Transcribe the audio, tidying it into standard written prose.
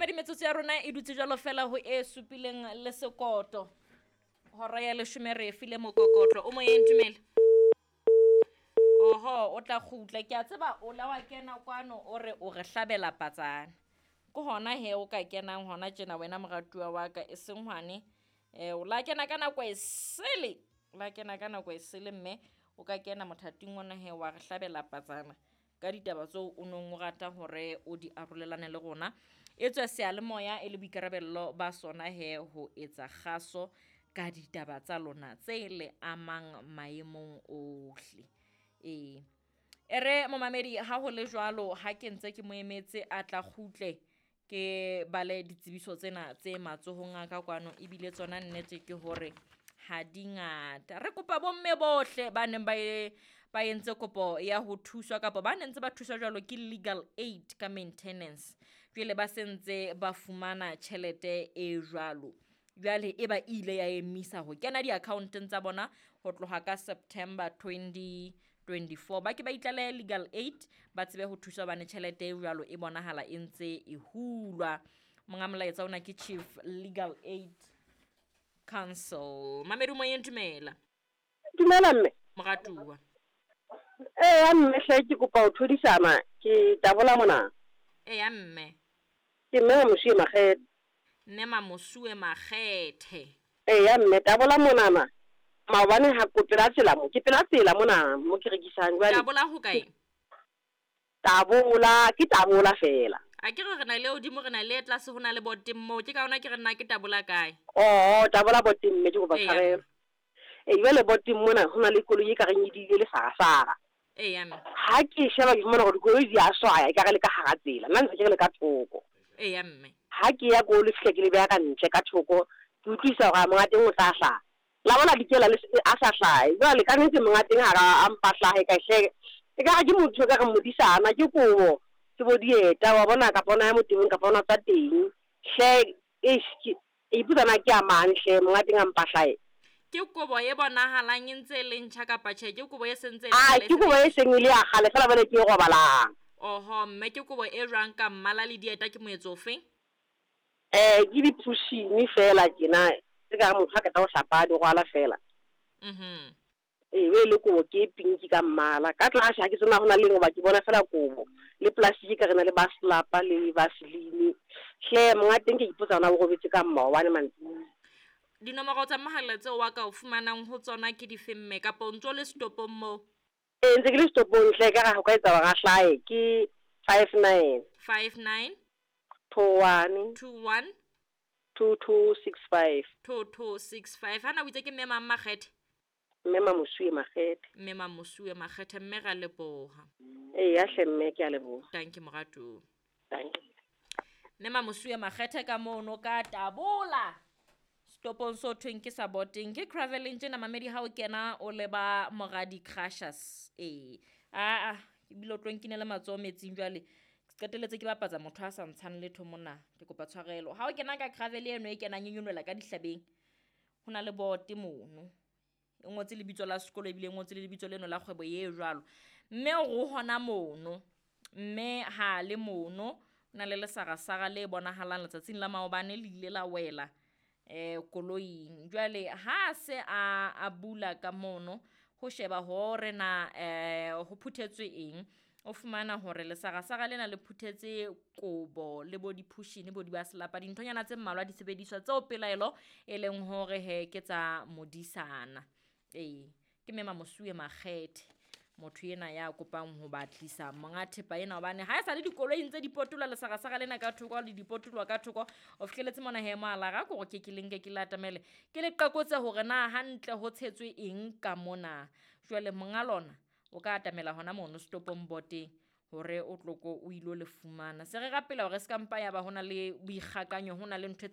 Mamedi, metsotso ya rona e dutse jwalo fela ho e supileng le sekoto. Hora ya leshome re e file mokokotlo. O moyeng, dumela. Oho, o tla kgutla. Ke a tseba o la wa kena kwano o re o re hlabela patsana. Ke hona he o ka kenang hona tjena wena moratuwa wa ka e seng hwane. O la kena ka nako e sele. O la kena ka nako e sele mme o ka kena mothating ona he wa re hlabela patsana ka ditaba tseo o nong o rata hore o di arolelane le rona. E tswe seyalemoya e le boikarabello ba sona he ho etsa kgaso ka ditaba tsa lona tse le amang maemong ohle. Ee. E re momamedi ha ho le jwalo ha ke ntse ke mo emetse a tla kgutle ke bale ditsebiso tsena tse matsohong a ka kwano ebile tsona nnete ke hore ha di ngata. Re kopa bomme bohle ba neng ba entse kopo ya ho thuswa kapa ba neng ntse ba thuswa jwalo ke legal aid ka maintenance. Jwale ba sentse ba fumana tjhelete e jwalo. Jwale e ba ile ya emisa ho kena di-account-eng tsa bona ho tloha ka September 2024. Ba ke ba itlalehe legal aid ba tsebe ho thuswa hobane tjhelete e jwalo e bonahala e ntse e hulwa. Monga molaetsa ona ke Chief Legal Aid Council. Mamedi moyeng, dumela. Dumela mme. Moratuwa. Eya mme hle ke kopa ho thodisana ke tabola mona. Eya mme. Ke mme Mamosuwe Makgethe. Mme Mamosuwe Makgethe. Eya mme tabola monana. Maobane ha ko pela tsela mo, ke pela tsela mona mo ke rekisang jwale. Tabola ho kae? Tabola, ke tabola fela. A ke re na le hodimo re na le tlase ho na le boteng moo, ke ka hona ke re nna ke tabola kae? Oh, tabola boteng mme ke kopa tshwarelo. Jwale boteng mona ho na le koloi e ka reng e diile lesarasara. Eya mme. Ha ke sheba ke fumana hore dikoloi di a swaya ekare le ka hara tsela, nna ntse ke re le ka thoko. Eya mme. Ha ke ya ko le fihla ke le beha ka ntle ka thoko, ke utlwisisa hore monga teng o tla hlaha. La bona dikela le a sa hlahe. Jwale ka nnete monga teng ha a mpa hlahe ka hle. Ekare ke motho ka re modisana ke kobo. Ke bo dieta wa bona kapa ona ya motebong kapa ona tsa teng. Hle eish ke ipotsa na ke a mang hle monga teng a mpa hlahe. Ke kobo e bonahalang e ntse e le ntjha kapa tjhe, ke kobo e sentse e le ke kobo e seng e le ya kgale fela jwale ke e robalang. Oho, mme ke kobo e jwang ka mmala le dieta ke moetso ofe? Ke di-pushini fela tjena tse ka re motho ha qeta ho hlapa di rwala fela. Mhm. Ee, e le kobo ke pinki ka mmala. Ka tlase ha ke tsena hona le hoba ke bona fela kobo le plastic ka re na le baslapa le vaseline. Hle monga teng ke ipotsa hona o robetse ka maobane mantsibuya. Dinomoro tsa mohala tseo wa ka o fumanang ho tsona ke dife mme kapa o ntso le setopong moo? Ee, ntse ke le setopong hle ka re ho ka etsa hore a hlahe ke 59 59 21 21 2265. 2265. Hana o itse ke mme mang Makgethe? Mme Mamosuwe Makgethe. Mme Mamosuwe Makgethe, mme ra leboha. Eya hle mme ke a leboha. Thank you moratuwa. Thank you. Mme Mamosuwe Makgethe ka mono ka tabola. Stopong so thweng ke sa boteng ke traveling tjena mamedi ha o kena o leba Moradi Crushers. Ee. Aa, ebile o tlo nkinela matsoho metsing jwale. Ke qetelletse ke bapatsa motho a sa ntshang letho mona. Ke kopa tshwarelo. Ha o kena ka gravel eno e kenang e nyolohela ka dihlabeng. Ho na le bote mono. E ngotse lebitso la sekolo ebile e ngotse le lebitso leno la kgwebo e jwalo. Mme o re hona mono. Mme ha le mono ho na le lesarasara le bonahalang letsatsing la maobane le ile la wela koloing. Jwale ha se a bula ka mono ho sheba hore na ho phuthetswe eng, o fumana hore lesarasara lena le phuthetse kobo le bo diphushini bo di ba selapa dinthonyana tse mmalwa di sebediswa tseo pelaelo e leng hore he ke tsa modisana. Ee, ke mme Mamosuwe Makgethe motho ena ya kopang ho batlisa monga thepa ena hobane ha e sa le dikoloi ntse di potola lesarasara lena ka thoko le dipotolwa ka thoko o fihleletse mona he mohala ra kore ke ke le nke ke le atamele ke le qakotse hore na hantle ho tshetswe eng ka mona. Jwale monga lona o ka atamela hona mono stopong boteng hore o tloko o ilo le fumana. Se re rapela hore se ka mpa ya ba hona le boikgakanyo, hona le ntho e